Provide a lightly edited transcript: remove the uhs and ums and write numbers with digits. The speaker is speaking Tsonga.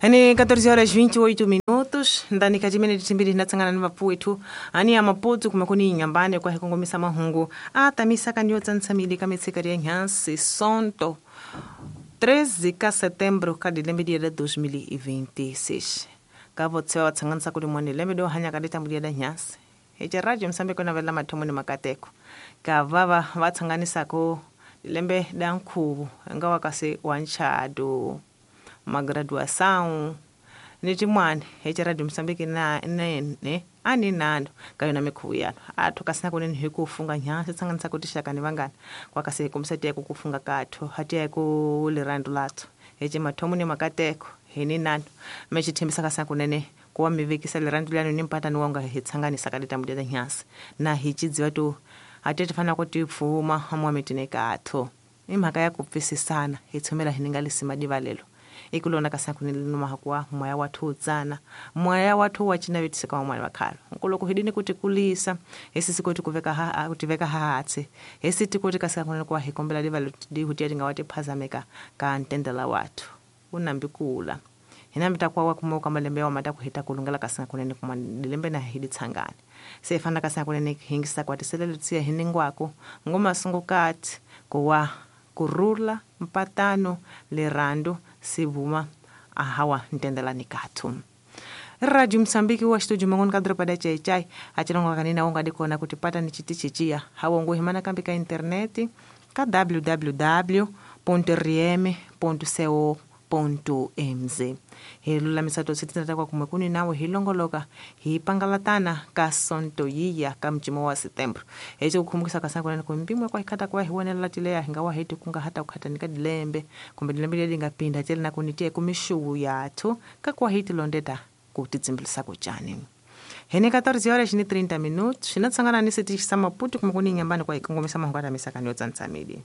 Ni 14 horas 28 minutos ndani ka timene timbiri hinatsangana ni vapfuwethu ani ya Maputo kuma kuni Inhambane kwa hikongomisa mahungu a tamisa ka nyotsa ntsamili ka mitshika ya nhansi sonto 13 ka setembro ka dilembe dia 2026 ka votsewa va tsanganisa kuli mone lembe do hanya ka ditambu dia da nhansi ece radio Msambeko na vela mathomo ni makateko ka vava va tsanganisako lembe da nkhuvu nga wa kasi wa nchado magraduação ni tin'wani ece radio Msambiki na nene a ni nando ka yona mikhuvu yano atho kasi na kunene hi ku funga nhansi tsanganisa ku tixaka ni vanghana kwa kasi hi kombisa tiya ku funga katho ha tiya ku lirhandu latho ece mathomo ni makateko hi ni nando me xi tshembisa kasi na kunene ku wa mi vekisa lirhandu lyanu ni mpatani wa nga hi tsanganisa ka ditambu lya nhansi na hi cidziwa to a ti fanela ku ti pfuma mwa mitini katho i mhaka ya ku pfisisana hi tshumela hi ni nga lisima divalelo ikulona kasi kunene lino mahakuwa moya wathu wutsana moya wathu wa cinavetisa ka van'wani va khale nkuloko hi dini ku ti kulisa hi sisi koti ku veka ha ku ti veka hahatsi hi si ti koti kasi kunene ku wa hi kombela divalo dihutiya ti nga wa ti phazameka ka ntendela wathu wu nambi kula hi nambi ta kuwa wa kuma ka malembe ya wa ta ku heta ku lungela kasi kunene kuma lembe na hi ditshangana se hi fanela kasi kunene hingisa kwa tiselelo tsiya hi ningwaku ngoma sungukati ku wa kurula mpatano lerando sibuma ahawa ntendelani kathu. Radio Msambiki wa studio mangoni ka dropa da chai chai achilongo kanina unga dikona kuti pata ni chiti chichia hawongo himana kambi ka interneti ka www.rm.co.mz hi lulamisa to sitinata kwa kumwe kuni nawe hi longoloka hi pangalatana ka sonto yiya ka mcimo wa setembro ece kukhumukisa ka kunene ku mpimo kwa hikhata kwa hi wonelela tileya hi nga wa heti kunga hata kukhatani ka dilembe kumbe dilembe leri nga pinda tele na kuni tiye kumixuwu yathu ka kwa hi tilondeta ku titsimbilisa ku cani hene 14 horas ni 30 minutos xina tsangana ni setichi sa Maputo kuma kuni Inhambane kwa hi kongomisa mahungu ya misakani yo tsantsamili.